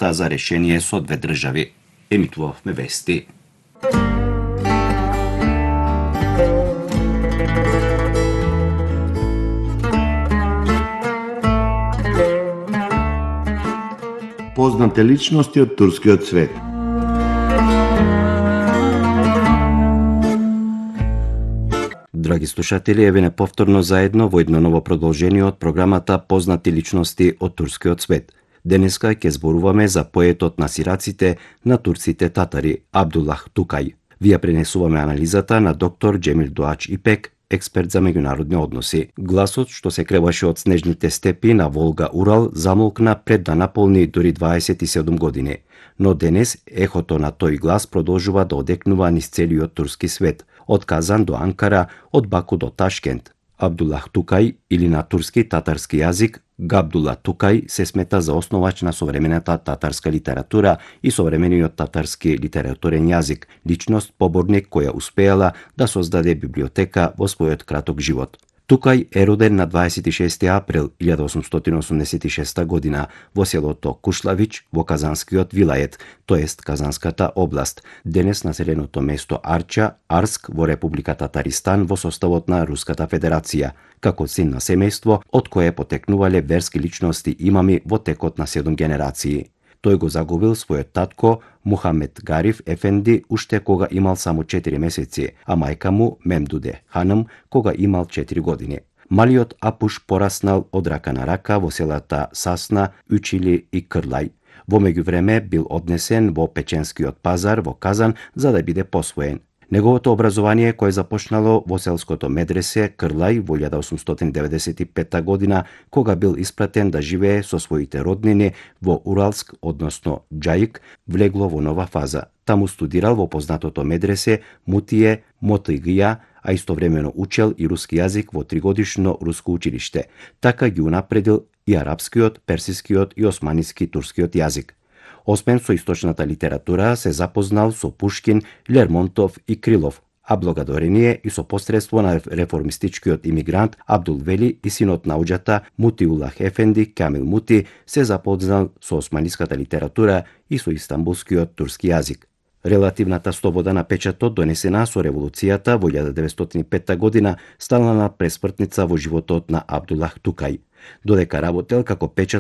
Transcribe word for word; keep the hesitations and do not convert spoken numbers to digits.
та за решение со две држави. Емитувавме вести. Познате личности од турскиот свет. Драги слушатели, еве повторно заедно во едно ново продолжение од програмата Познати личности од турскиот свет. Денеска ќе зборуваме за поетот на сираците на турците татари Абдуллах Тукај. Вие пренесуваме анализата на доктор Џемил Дуач Ипек, експерт за меѓународни односи. Гласот што се креваше од снежните степи на Волга-Урал замолкна пред да наполни дури дваесет и седум години. Но денес ехото на тој глас продолжува да одекнува низ целиот турски свет, од Казан до Анкара, од Баку до Ташкент. Абдуллах Тукај, или на турски татарски јазик Габдула Тукај, се смета за основач на современата татарска литература и современиот татарски литературен јазик, личност поборник која успеала да создаде библиотека во својот краток живот. Тукај е роден на дваесет и шести април илјада осумстотини осумдесет и шеста година во селото Кушлавич во Казанскиот вилајет, тоест Казанската област, денес населеното место Арча, Арск во Република Татаристан во составот на Руската Федерација, како син на семејство од кое потекнувале верски личности имами во текот на седум генерации. Тој го загубил својот татко Мухамед Гариф Ефенди уште кога имал само четири месеци, а мајка му Мемдуде Ханым кога имал четири години. Малиот Апуш пораснал од рака на рака во селата Сасна, Учили и Крлај. Во меѓувреме бил однесен во Печенскиот пазар во Казан за да биде посвоен. Неговото образование, кое започнало во селското медресе Крлај во илјада осумстотини деветдесет и петта година, кога бил испратен да живее со своите роднини во Уралск, односно Џаик, влегло во нова фаза. Таму студирал во познатото медресе Мутие Мотыгија, а истовремено учел и руски јазик во тригодишно руско училиште. Така ги унапредил и арапскиот, персискиот и османиски турскиот јазик. Освен со источната литература, се запознал со Пушкин, Лермонтов и Крилов, а благодарение и со посредство на реформистичкиот имигрант Абдул Вели и синот на уџата Мутиуллах Ефенди Камил Мути се запознал со османиската литература и со истанбулскиот турски јазик. Релативната слобода на печатот, донесена со револуцијата во илјада деветстотини и петта година, станала пресмртница во животот на Абдуллах Тукај. Додека работел како печат